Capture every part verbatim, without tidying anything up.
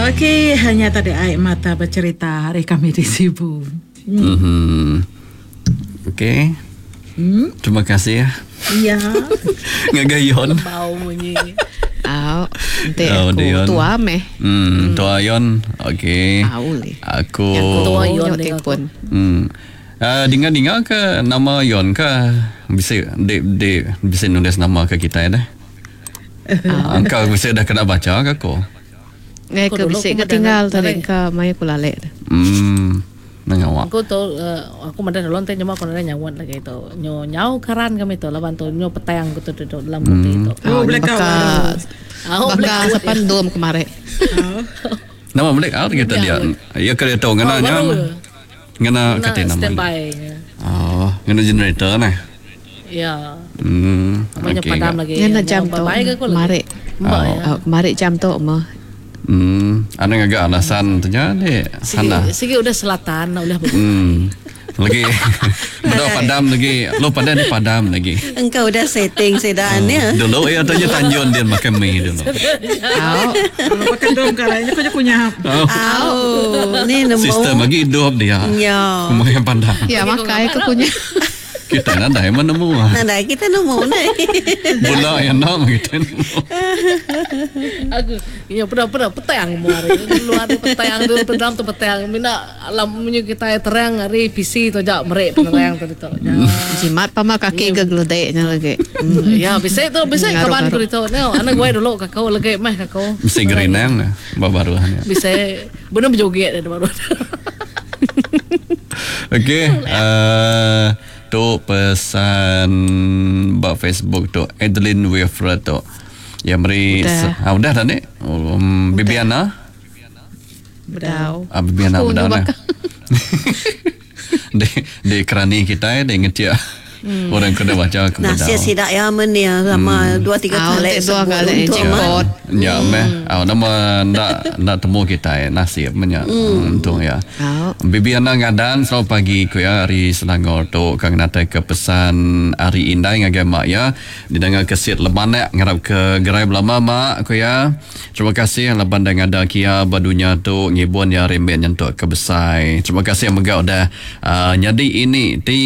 Okey, hanya tadi ai mata bercerita hari kami di Sibu. Hmm. Mm-hmm. Okey. Hmm? Terima kasih ya. Ya. Ngagai Yon. Bau munyi. Au, ente oh, aku tua meh. Hmm, tua Yon. Okey. Au le. Aku tua Yon telefon. Hmm. Uh, dengar-dengar ke nama Yon ke bisa di, di bisa nulis nama ke kita dah. Uh, Engkau bisa dah kena baca ke aku? Ngai ke bisa ke tinggal tadi ke mai aku lalek. Hmm. Nengawak. Aku tu uh, aku madah dulu nanti cuma aku nanya nyawan lagi itu. Nyo nyau keran kami tu lawan tu nyo petang aku tu duduk dalam putih itu. Oh, blackout. Oh, blackout sepandom kemarin. Nama blackout kita dia. Ya kereta ngena nya. Ngena kata nama. Standby. Oh, ngena generator nah. Ya. Hmm. Namanya padam lagi. Ngena jam tu. Kemarin. Oh, kemarin jam tu mah. Hmm, ada ngagak alasan tu nya dek. Sana. Sigi udah selatan udah berbuka. Hmm. Lagi udah padam lagi. Lu padam ni padam lagi. Engkau udah setting sedan ya. Dulu ya tanya Tanjung dia makan mie dulu. Au. Kalau makan dong kalanya kau punya. Au. Ni nemu. Sistem lagi hidup dia. Ya. Makan padam. Ya makai ke punya. Kita nadai menemu. Nadai kita nemu nai. Bola yang nak kita nemu. Aku ya pernah-pernah petang mu hari. Luar tu petang tu dalam tu petang. Mina alam punya kita terang hari P C tu jak merek penerang tadi tu. Jimat pama kaki ke geledeknya lagi. Ya bisa tu bisa kawan ku itu. Neo anak gue dulu kakau lagi meh kakau. Bisa gerinang baru hanya. Bisa benar berjoget dah baru. Okey, uh, tu pesan ba Facebook tu Adeline Wilfred tu. Ya meri ah udah dah ni. Um, Bibiana. Bedau. Ah Bibiana bedau nah. Di di kerani kita di ngetia. Hmm. Orang kena baca ke bedau. Nasib sidak ya menia sama dua tiga kali dua kali jemput. Ya meh. Ah nama ndak ndak temu kita nasib menya. Untung ya. Bibiana ngadan selamat pagi ku ya hari Selangor tu kang natai ke pesan hari indai ngagai mak ya. Didengar ke sit lemanak ngarap ke gerai belama mak ku ya. Terima kasih laban dah ngada kia ba dunya tu ngibun ya rembet nyentuk ke besai. Terima kasih mega udah uh, nyadi ini ti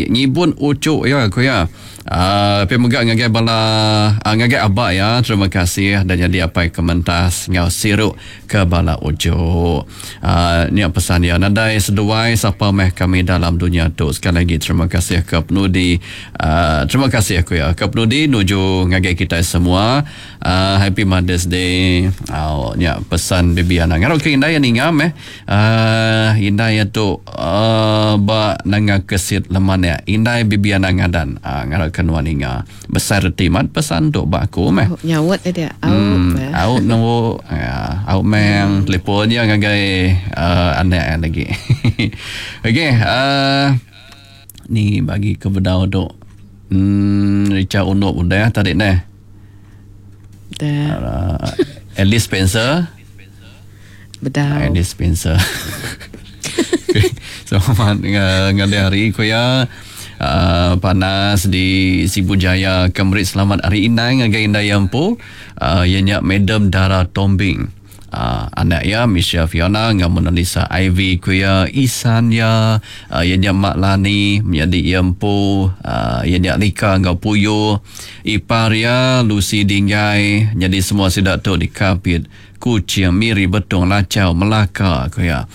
ngibun ucuk ya aku ya. Uh, tapi mega ngagai bala uh, ngagai abak ya. Terima kasih dan jadi apa kementas ngau sirup ke bala ujuk. Uh, ni pesan ya. Nadai seduai sapa meh kami dalam dunia tu. Sekali lagi terima kasih ke penudi. Uh, terima kasih aku ya. Ke penudi nuju ngagai kita semua. Uh, Happy Mother's Day. Oh, ni pesan Bibiana. Ngarap ke indai yang ninga meh. Uh, indai tu uh, ba nanga kesit leman ya. Indai Bibiana ngadan. Uh, ngarap kenuan inga. Besar reti mat pesan tu ba aku meh. Oh, nyawat dia. Au. Hmm, au nunggu. Ya, au meng teleponnya ngagai uh, anak lagi. Okey, uh, ni bagi ke bedau tu. Hmm, Richard Unuk udah tadi neh. Dah. Uh, Alice Spencer. Bedau. Alice Spencer. Okay. So, ngalih hari ku ya. Uh, panas di Sibu Jaya Kemerit selamat hari indai ngagai indai ampu uh, ianya Madam Dara Tombing. Uh, anak ya Misha Fiona dengan Mona Lisa Ivy kuya Isan ya uh, ianya Mak Lani menjadi ia empu uh, ianya Lika ngau Puyo ipar ya Lucy Dinggai jadi semua sidak tu di Kapit Kuching, Miri, Betong, Lacau, Melaka kuya.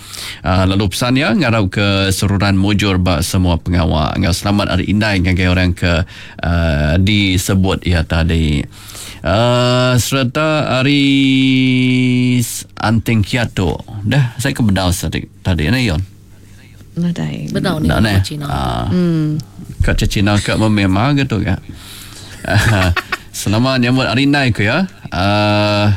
Uh, lalu pesan ya ngarap ke seruran mujur bak semua pengawal. Ngau selamat hari indai ngagai orang ke uh, disebut ya tadi. Uh, serta hari Anting Kiato. Dah saya ke bedau tadi tadi ni Yon. Nadai. Bedau ni kat Cina. Uh, hmm. Kat Cina kat memang gitu kan. Selamat nyambut hari indai ku ya. Uh,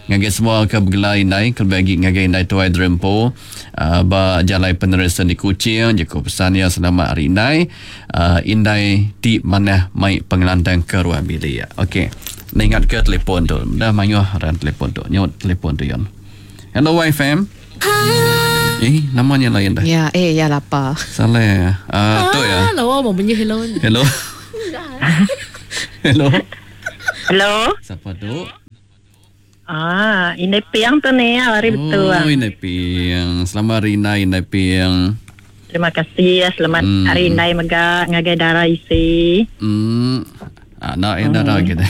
ngagai semua ke bergelai indai kelebih lagi ngagai indai tuai Drempo uh, ba jalai penerusan di Kuching jaku pesan ya selamat hari indai uh, indai ti manah mai pengelantang ke ruang bilik. Okey. Ingat ke telefon tu. Dah mayuh ran telefon tu. Nyut telefon tu Yon. Hello Y F M. Eh, namanya lain dah. Ya, eh ya lapar. Salah. Ah, uh, tu ya. Hello, mau bunyi hello. Hello. Hello. Hello. Siapa tu? Ah, ini piang tu ni hari betul. Oh, Indai Piang. Selamat hari Indai, Indai Piang. Terima kasih ya. Selamat Hmm. hari Indai mega ngagai dara isi. Hmm. Anak yang dara kita.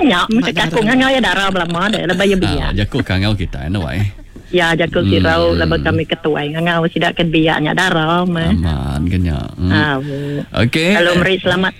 Ya, mesti aku ngangau ya dara belama deh, lebih ya biak. Ah, jaku kangau kita anu ai. Ya, jaku Hmm. sirau lebih kami ketuai ngangau sidak ke biaknya dara mah. Aman kenya. Hmm. Ah, bu. Okey. Kalau meri selamat